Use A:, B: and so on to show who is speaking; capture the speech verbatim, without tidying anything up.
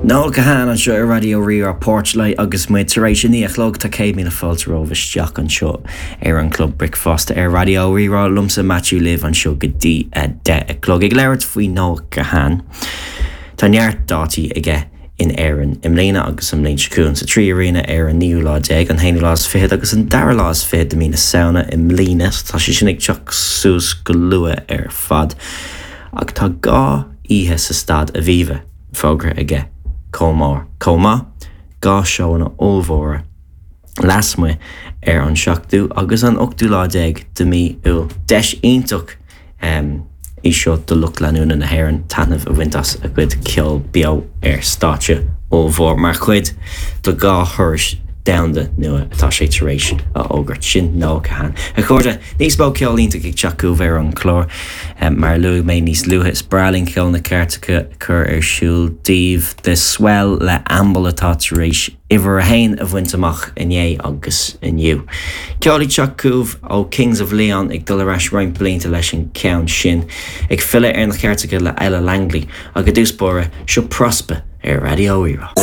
A: Noel Kahane anseo ar Raidió Rí-Rá Porchlight agus muid tar éis a naoi a chlog tá céad míle fáilte romhaibh isteach anseo ar an Club Bricfeasta ar Raidió Rí-Rá liomsa Matthew libh anseo go dtí a deich a chlog ag labhairt faoi Noel Kahane. Tá neart dátaí aige in Éirinn i mbliana agus an bhliain seo chugainn sa Trí Arena ar an naoú lá déag an haonú lá is fiche agus an dara lá is fiche de mhí na Samhna i mbliana tá sé sin ag teacht suas go luath ar fad ach tá dhá oíche sa Staid Aviva fógartha aige chomh maith chomh maith dhá seónna ollmhóra lasmuigh ar an seachtú agus an ochtú lá déag de mhí Iúil. Deis iontach um, í seo do lucht leanúna na hÉireann taitneamh a bhaint as a chuid ceol beo ar stáitse ollmhór mar chuid de dhá thuras domhanda nua atá sé tar éis a fhógairt sin Noel Kahane. A chairde níos mó ceol iontach ag teacht chugaibh ar an chlár um, mar luaigh mé níos luaithe is breá linn ceol na gcairteacha chur ar siúl daoibh The Swell le Amble atá tar éis uimhir a haon a bhaint amach inné agus inniu. Ceol ag teacht chugaibh ó Kings of Leon ag dul ar ais roinnt blianta leis an ceann sin ag filleadh ar na cairteacha le Ella Langley agus dúspóra seo Prospa ar Raidió Rí-Rá.